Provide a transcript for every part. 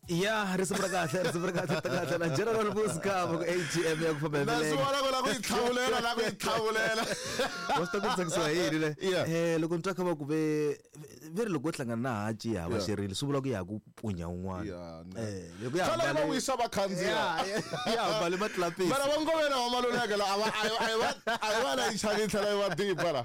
Ya risimu ra kahle, risimu ra kahle, ta kahle na General Muska ku ATM ya ku famba hi Na swi milenge. vona ku la ku yi tlhavulela, la ku yi tlhavulela. Wa swi ta ku tsakisiwa hi yini le? Yeah. Loko ni twa kha va ku ve ve ri loko wo hlangana na hanci ya hava Yeah. xirilo swi vula ku ya ha ku punya un'wana. Yeah, ne. Loko ya Xana va hambane wisa vakhandziya? Ya, ya hambane matlapisi. Mara va ngovela va maluleke la a va a yi va a yi va la yi chavi yi tlhela yi va dipa la.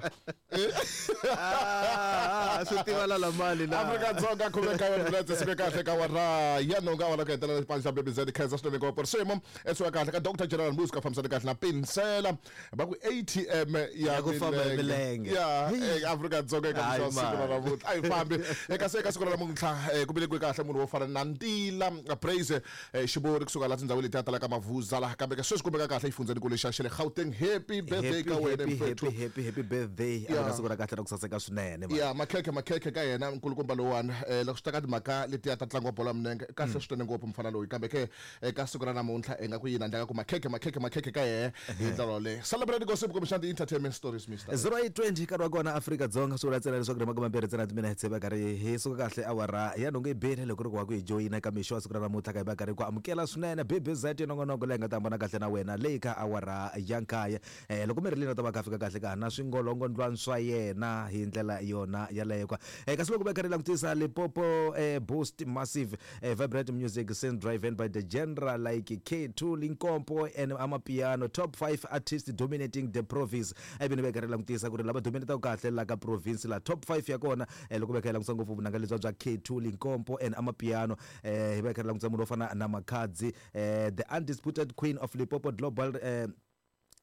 Ah, swi tiva la la mali la. Afrika Dzonga khume nkaye wa minetse siku kahle ka wara ya nhungu awara ku hetelela xipano xa BBZ khensa swinene ngopfu risimu esuka kahle ka Dr General Muska fambisana kahle na Pinsela va ku ATM ya Ya ku famba hi milenge. Ya Afrika Dzonga eka Hayi, mixo siku ra mani. namuntlha a yi fambi eka se eka siku ra namuntlha ku velekiwe kahle munhu wo fana na Ntila Praise Xivori kusuka laha tindhawini letiya talaka Mavuza laha kambe ka sweswi kumeka kahle exifundzhenikulu xa xa le Gauteng. Happy birthday Happy, ka wena happy, mfethu. happy, happy, happy birthday. A Yeah. ku siku ra kahle ra ku saseka swinene man. Ya makhekhe makhekhe ka yena nkulukumba lowuwani loko swi ta ka timhaka letiya ta ntlangu wa bolo ya milenge kahle swinene ngopfu mfana loyi kambe ke eka siku ra namuntlha i nga ku yini handle ka ku makhekhe makhekhe makhekhe ka yehe hi ndlela yoleyo. Celebrate gossip kumbexana ti-entertainment stories Mr. 0820 nkarhi wa kona Afrika Dzonga swi vula ntsena leswaku ri makume mambirhi ntsena timinetse va karhi hi suka kahle awara ya nhungu yi bile loko ri ku wa ku hi joyina eka mixo wa siku ra namuntlha ka hi va karhi ku amukela swinene BBZ nongonoko leyi nga ta hambana kahle na wena leyi ka awara ya nkaye. Loko mi ri lina ta va kha fika kahle ka na swingolongondlwani swa yena hi ndlela yona yaleyo kwa. Kasi loko va karhi langutisa Limpopo Boost Massive Vibrant Music Scene driven by the genre like K2 Limpopo and Amapiano top 5 artists dominating the province. Ivi ni va karhi langutisa ku ri lava dominataka kahle la ka province la top 5 ya kona loko va kha langutisa ngopfu vunanga lebya bya K2 Limpopo and Amapiano hi va karhi langutisa munhu wo fana na Makhadzi the undisputed queen of Limpopo global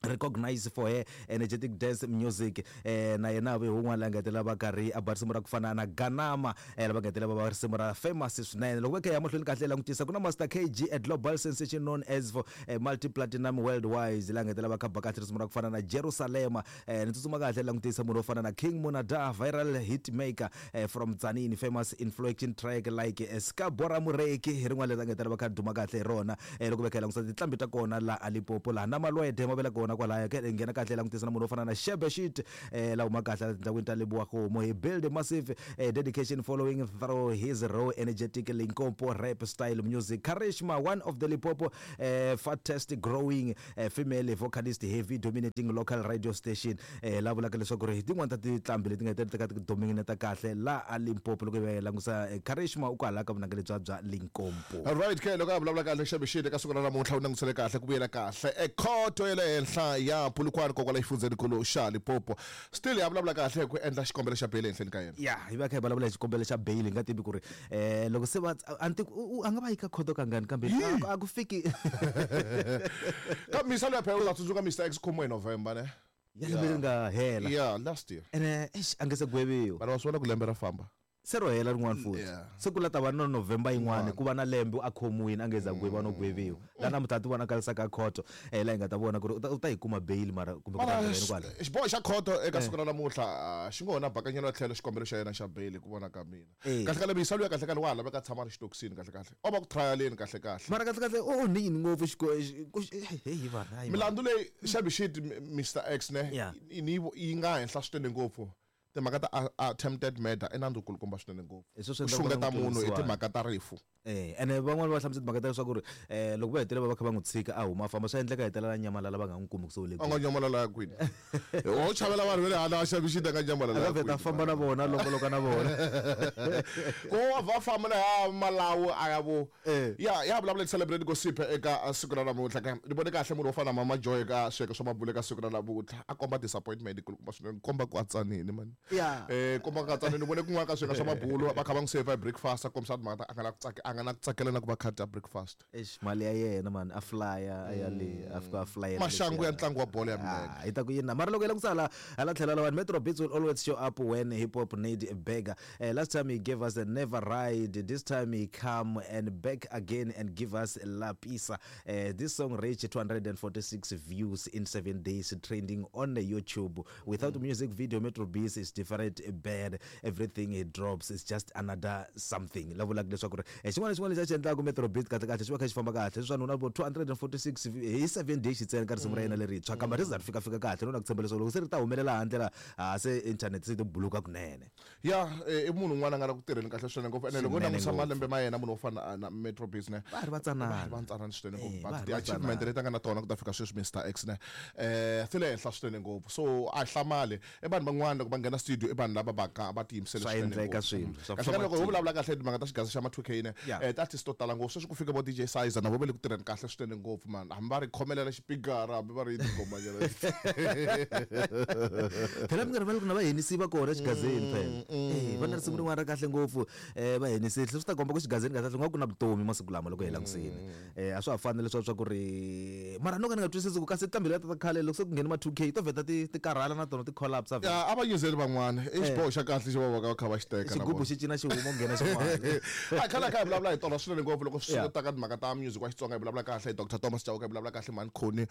recognized for her energetic dance music na yena ve un'wana la nga hetelela va karhi a ba risimu ra ku fana na Ganama lava nga hetelela va ba risimu ra famous swinene. Loko va kha ya mahlweni kahle langutisa ku na Master KG, a global sensation known as for multi platinum worldwide la nga hetelela va kha ba kahle risimu ra ku fana na Jerusalema. Ni tsutsuma kahle langutisa munhu wo fana na King Monada, viral hit maker from Tzaneen, famous inflection track like Skabora Mureki hi rin'wana leri nga hetelela va kha duma kahle hi rona. Loko va kha langutisa tinqambi ta kona la a Limpopo laha na Malwede ma vela kona kwalaya ke nghena kahle langutisa na munhu wo fana na Shebeshit la huma kahle tindhawini ta Lebowa-Kgomo. He build a massive dedication following through his raw energetic Limpopo rap style music. Karishma, one of the Limpopo fastest growing female vocalist, heavy dominating local radio station la vulaka leswaku ri tin'wana ta tinqambi leti nga hetelela ti dominate kahle la a Limpopo. Loko hi langutisa Karishma u kwala ka vunanga lebya bya Limpopo. Right ke loko a vulavula kahle Shebeshit eka siku ra namuntlha u langutisele kahle ku vuyela kahle ekhoto ya le henhla ya Polokwane kokwala xifundzhenikulu xa Limpopo. Still ya vulavula kahle ku endla xikombelo xa bail ehenhleni ka yena. Ya hi va kha hi vulavula hi xikombelo xa bail hi nga tivi ku ri loko se va a ni tivi a nga va yi ka khoto kangani kambe a ku fiki. Ka misa luya phela u ta tsundzuka Mr X khomiwe hi November ne? Ya lembe leri nga hela. Yeah, last year. Ene eish a nge se gweviwa. Mara wa swi vona ku lembe ra famba. Se ro hela rin'wana futhi. Se ku la ta va no November yin'wana ku va na lembe a khomiwile a nge za gweviwa no gweviwa. La namuntlha ti vonakarisaka ka khoto laha hi nga ta vona ku ri u ta yi kuma bail mara kumbe ku ta Mara yini kwala. xiboho xa khoto eka siku ra namuntlha xi ngo na bakanyelo tlhelo xikombelo xa yena xa bail ku vona ka mina. Kahle kahle misa luya kahle kahle wa ha laveka tshama ri xitokisini kahle kahle. O va ku trialeni kahle kahle. Mara kahle kahle o onhe yini ngopfu hey vana hayi. Milandzu leyi Shebeshit Mr X ne yi nga henhla swinene ngopfu. Timhaka ta attempted murder i nandzu kulukumba swinene ngopfu. Hi sweswo Ku endlaka xungeta ku munhu hi tirhisiwa. timhaka ta rifu. Ene van'wani va hlamusela timhaka ta leswaku ri loko va hetelela va kha va n'wi tshika a huma a famba swa endleka hetelela nyamalala va nga n'wi kumi ku se u le A nga nyamalala kwini? O chavela vanhu va le handle a Shebeshit a nga nyamalala A nga vheta a famba na vona a longoloka na vona. Ku wa va famba na ya Malawi a ya vo. Ya ya vulavula hi celebrate gossip eka siku ra namuntlha ka ni vone kahle munhu wo fana na Mama Joy ka swiyenge swa mabulo eka siku ra namuntlha a komba disappointment kulukumba swinene komba ku a tsanini man. Komba ku a tsanini ni vone kun'wana ka swiyenge swa mabulo va kha va n'wi save hi breakfast a kombisa timhaka ta a nga na ku tsakela a nga na ku tsakela na ku va kha dya breakfast. Eish mali ya yena man a flya a ya le a fika a flyela Maxangu ya ntlangu wa bolo ya milenge. Hi ta ku yini na mara loko hi langutisa hala hala tlhelo lawani Metro Beats will always show up when hip hop need a beggar. Last time he gave us a never ride, this time he come and back again and give us La Pisa. This song reached 246 views in 7 days, trending on the YouTube. Without music video, Metro Beats is is different bad everything he drops is just another something. La vulaka leswaku ri xin'wana na xin'wana lexi a xi endlaka Metro Beat kahle kahle xi va kha xi famba kahle. Sweswiwani u na vo 246 hi 7 days ntsena ka risimu ra yena lerintshwa kambe ri za ri fika fika kahle no na ku tshemba leswaku loko se ri ta humelela handle la ha se internet se yi to buluka kunene. Ya i munhu un'wana a nga la ku tirheni kahle swinene ngopfu ene loko u langutisa malembe ma yena munhu wo fana na Metro Beats ne va ha ri vatsanana va ntsanana swinene ngopfu but ti-achievement leti a nga na tona ku ta fika sweswi Mister X ne ti le henhla swinene ngopfu so a hi hlamali i vanhu van'wana loko va nghena studio i vanhu lava va ka va tiyimisele Swa swinene endleka ngopfu. swilo, swa Kahle kahle loko ho matimba. vulavula kahle timhaka ta xigaza xa ma 2K ne ti-artist to tala ngopfu sweswi ku fika vo DJ Sizer na vo va le ku tirheni kahle swinene ngopfu man hambi va ri khomelela xipikara hambi va ri yini tingomanyana Phela mi nga rivali ku na va Hennessy va kona xigazeni phela. Va na risimu rin'wana ra kahle ngopfu va Hennessy swi ta komba ku xigazeni kahle kahle nga ku na vutomi masiku lama loko hi langusini. A swa ha fani na leswiya swa ku ri mara no ka ni nga twisisi ku kasi tinqambi letiya ta khale loko se ku nghene ma 2K to vheta ti ti karhala na tona ti collapse vhele. Ya a va nyizeli van'wana i xiboho xa kahle xo va va ka va kha va xi teka na Xigubu vona. xi cina xi huma ku nghena xin'wana. A khale kha hi vulavula hi tona swinene ngopfu loko swi ta ka timhaka ta music wa Xitsonga hi vulavula kahle hi Dr Thomas Chauke hi vulavula kahle Mhani Khoni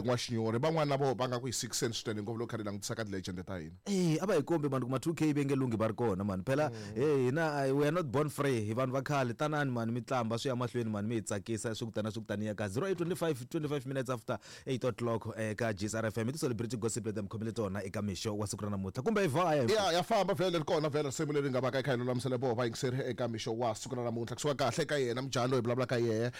N'waxinyori van'wana na voho va nga ku hi sixen swinene ngopfu loko kha hi langutisa ka ti-legend ta hina. A va hi kombi mani ku ma 2K ve nge lunghi va ri kona mani phela hey hina we are not born free hi vanhu va khale tanani mani mi tlamba swi ya mahlweni mani mi hi tsakisa swi ku tana swi ku taniya ka 0825 25 minutes after 8 o'clock eka GSR FM i ti-celebrity gossip leti mi khomele tona eka mixo wa siku ra namuntlha kumbe hi vaya Ya ya famba vhele ri kona vhele risimu leri nga va ka yi kha yi lulamisele voho vayingiseri eka mixo wa siku ra namuntlha kusuka kahle ka yena mujhani loyi hi vulavulaka yehe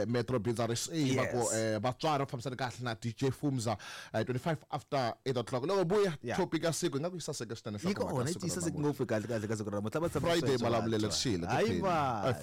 Metro Binzaris va ku vatswari va fambisana kahle na DJ Fumza 25 after 8 o'clock loko buya topic ya siku hi nga ku yi saseke swinene Yi kona yi saseke ngopfu kahle kahle ka siku ra namuntlha va tshama Friday malamulele xile hayi va.